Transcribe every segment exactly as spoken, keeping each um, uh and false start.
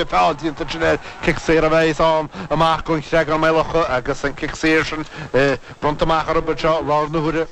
Feall déanta sin air, cic saor a bheas ann amach don Chreagán Maigh Locha agus an cic saor sin bronnta amach orthu anseo i láthair na huaire.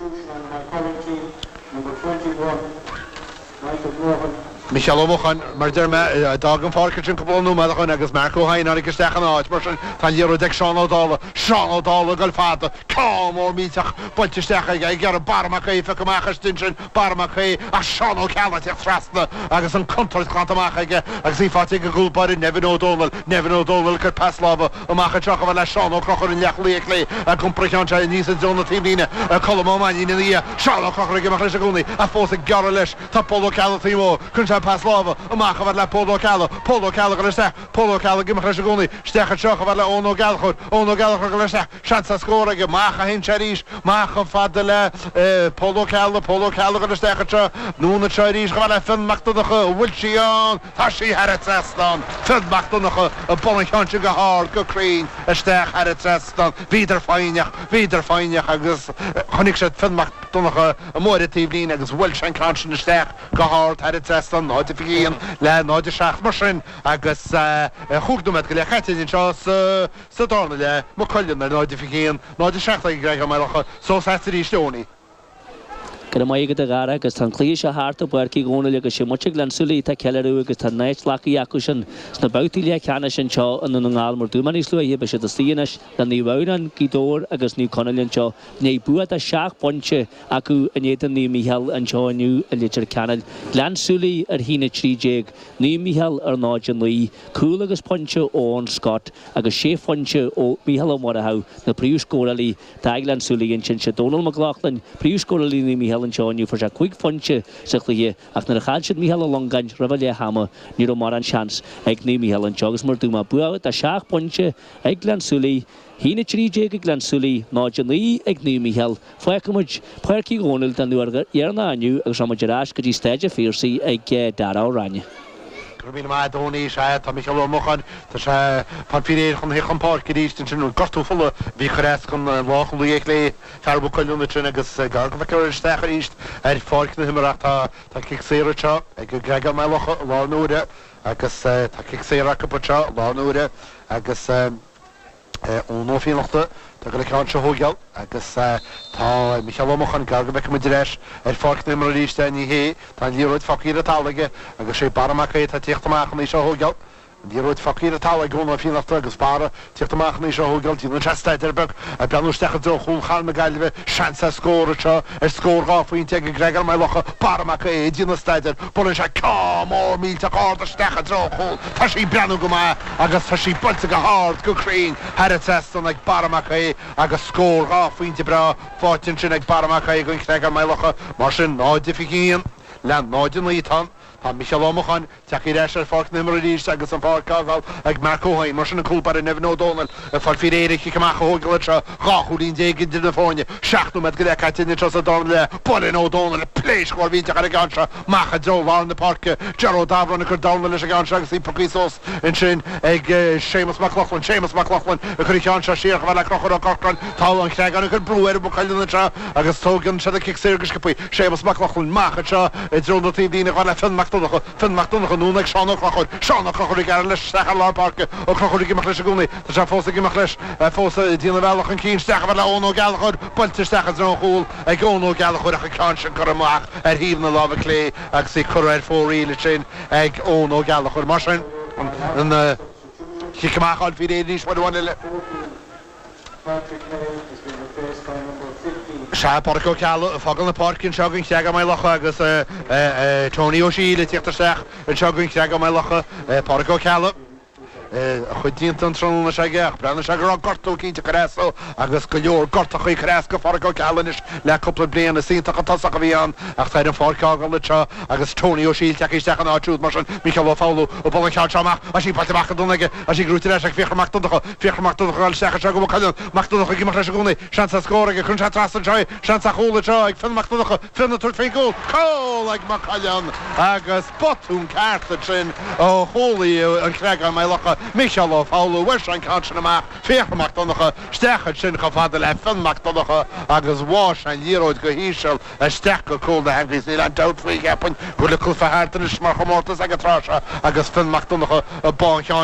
Micheál Ó Mocháin, mar a deir mé, d'fhág an pháirc ansin cúpla nóiméad ó shin agus Marc Ó hEidhin tháinig isteach ina áit, mar sin tá an liathróid ag Seán Ó Dálaigh, Seán Ó Dálaigh ag goil fada, ceann mór millteach buailte isteach aige ag iarraidh Barra Mac Aodha a phiocadh amach istigh ansin, Barra Mac Aodha, ach Seán Ó Ceallaigh ag teacht trasna agus an chontúirt glanta amach aige agus í faighte ag an gcúl báire Nevin Ó Dónaill, Nevin Ó Dónaill ag cur pas láimhe amach anseo chomh fada le Seán Ó Conchúir an leathchúlaí clé ag iompar an cheann seo aníos i dtreo na taobhlíne, Colm Ó Mainnín ina dhiaidh, Seán Ó Conchúir ag imeacht leis i gcónaí ach fós ag gearradh leis. Tá Pól Ó Ceallaigh taobh amuigh. Cuireann sé pas láimhe amach chomh fada le Pól Ó Ceallaigh. Pól Ó Ceallaigh ag dul isteach. Pól Ó Ceallaigh ag imeacht leis i gcónaí. Isteach anseo chomh fada le Eoin Ó Gallchóir. Eoin Ó Gallchóir ag dul isteach. Seans ar scór aige. Amach a théann sé arís. Amach chomh fada le Pól Ó Ceallaigh. Pól Ó Ceallaigh ag dul isteach anseo. Anonn anseo arís chomh fada le Fionn Mac Donncha. An bhfuil sí ann? Tá sí thar an trasnán. Fionn Mac Donncha ag bualadh an cheann sin go hard, go cruinn, isteach thar an trasnán. Bhíodar foighneach. Bhíodar foighneach agus chonaic siad Fionn Mac Donncha amuigh ar an taobhlíne agus bhuail sé an ceann sin isteach go hard thar an trasnán, náid a fiche haon le náid a seacht mar sin agus chúig nóiméad go leith caite anseo sa darna leath, Maigh Cuilinn ar náid a fiche haon, náid a seacht ag an gCreagán Maigh Locha, suas agat arís Tony. Go raibh maith agat a Dhara agus tá an cluiche seo thart i bPáirc Uí Dhónaill agus sé muintir Ghleann tSúilí atá ag ceiliúradh agus tá a n-áit glactha acu sin sna babhtaí leathcheannais anseo i nDún na nGall mar dúirt mé níos luaithe beidh siad istigh anois le Naomh Adhamhnáin, Gaoth Dobhair agus Naomh Conaill anseo i ndiaidh bua de sheacht bpointe acu in éadan Naomh Mícheál anseo inniu i Leitir Ceanainn. Gleann tSúilí ar haon a trí déag, Naomh Mícheál ar náid a naoi, cúl agus pointe ó Eoin Scott agus sé phointe ó Mhícheál Ó Muireadhaigh, na príomhscórálaí do Ghleann tSúilí ansin. Sé Dónal Mac Lochlainn, príomhscórálaí Naomh Mícheál anseo inniu, fuair sé cúig phointe sa chluiche ach nuair a chaill siad Mícheál Ó Longáin roimh leath ama ní raibh mórán seans ag Naomh Mícheál anseo agus mar a dúirt mé, bua de sheacht bpointe ag Gleann tSúilí. haon a trí déag ag Gleann tSúilí, náid a naoi ag Naomh Mícheál. Fágfaidh muid Páirc Uí Dhónaill den uair dheireanach inniu agus rachaidh muid ar ais go dtí Staid an Phiarsaigh ag Dara Ó Ráinne. Go raibh míle maith agat a Tony, sea, tá Micheál Ó Mocháin, tá sé ag fáil faoi réir chun theacht chun páirce arís ansin, an gortú fola a bhí ag cur as don leathchúlaí clé, fear Mhaigh Cuilinn ansin agus gar go bhfeicfear isteach arís ar pháirc na himeartha ach tá tá cic saor anseo ag an gCreagán Maigh Locha i láthair na huaire agus tá cic saor acu anseo i láthair na huaire agus Eoin Ó Fiannachta atá ag dul an ceann seo a thóigeáil agus tá Micheál Ó Mocháin gar go bhfeicfidh muid ar ais ar pháirc na himeartha arís é, ní hé, tá an liathróid fágtha ar an talamh aige agus sé Barra Mac Aodha atá ag tíocht amach chun í seo a thóigeáil. An liathróid fágtha ar an talamh ag Eoin Ó Fiannachta agus Barra ag tíocht amach chun í seo a thóigeáil. Déanann sé staidéar beag ag breathnú isteach i dtreo chúl chathair na Gaillimhe. Seans ar scór anseo, ar scór dhá phointe ag an gCreagán Maigh Locha. Barra Mac Aodha ag déanamh staidéir. Buaileann sé ceann mór millteach ard isteach i dtreo an chúil. Tá sí ag breathnú go maith agus tá sí buailte go hard, go cruinn thar an trasnán ag Barra Mac Aodha agus scór dhá phointe breá faighte ansin ag Barra Mac Aodha don Chreagán Maigh Locha. Mar sin, náid a fiche haon le náid a naoi atá ann. Tá Micheál Ó Mocháin tagtha ar ais ar pháirc na himeartha arís agus an pháirc á fhágáil ag Marc Ó hEidhin. Mar sin an cúl báire Nevin Ó Dónaill ag fáil faoi réir an chic amach a thóigeáil anseo. Dhá chúilín déag idir na foirne. Seacht nóiméad go leith caite anseo sa darna leath. Buaileann Ó Dónaill pléasc mhór mhillteach ar an gceann seo amach i dtreo lár na páirce. Ger Ó Dabhráin ag cur dorna leis an gceann seo agus í pioctha suas ansin ag Séamus Mac Lochlainn. Séamus Mac Lochlainn ag cur an cheann seo siar chomh fada le Conchúr Ó Corcráin. Tá an Chreagán ag cur brú ar Mhaigh Cuilinn anseo agus tógann siad an cic saor go sciobtha. Séamus Mac Lochlainn amach anseo i dtreo na taobhlíne chomh fada le Fionn Mac Donncha. Fionn Mac Donncha anonn ag Seán Ó Conchúir. Seán Ó Conchúir ag gearradh leis isteach ar lár páirce. Ó Conchúir ag imeacht leis i gcónaí. Tá sé fós ag imeacht leis. Fós ag déanamh a bhealach chun cinn. Isteach chomh fada le Eoin Ó Gallchóir. Buailte isteach i dtreo an chúil ag Eoin Ó Gallchóir ach an ceann sin curtha amach ar thaobh na láimhe clé agus í curtha ar fóraoil ansin ag Eoin Ó Gallchóir. Mar sin, an chic amach á fháil faoi réir arís uair amháin eile. Sea, Pádraic Ó Ceallaigh ag fágáil na páirce anseo don Chreagán Maigh Locha agus Tony Ó Siadhail ag tíocht isteach anseo don Chreagán Maigh Locha. Pádraic Ó Ceallaigh, a chuid déanta an tráthnóna seo aige ach breathnaíonn sé go raibh gortú eicínt ag cur as dó agus go leor gortachaí ag cur as do Phádraic Ó Ceallaigh anois le cúpla bliain. Is iontach an tosach a bhí ann ach tá air an pháirc a fhágáil anseo agus Tony Ó Siadhail tagtha isteach ina áit siúd mar sin Micheál Ó Foghlú ag bualadh an cheann seo amach tá sí buailte amach go dona aige tá sí gnóite ar ais ag Fiachra Mac Donncha Fiachra Mac Donncha ag dul isteach anseo go Maigh Cuilinn Mac Donncha ag imeacht leis i gcónaí seans ar scór aige cuireann sé trasna anseo é seans ar chúl anseo ag Fionn Mac Donncha Fionn ag tabhairt faoin gcúl cúl ag Maigh Cuilinn agus botún ceart ansin ó chúlaí an Chreagáin Maigh Locha Micheál Ó Foghlú bhain sé an ceann sin amach Fiachra Mac Donncha isteach ansin chomh fada le Fionn Mac Donncha agus bháigh sé an liathróid go híseal isteach go cúl na heangaí níl aon dabht faoi cheapaim go bhfuil cluiche thart anois mar chomórtas ag an tráth seo agus Fionn Mac Donncha bá cheann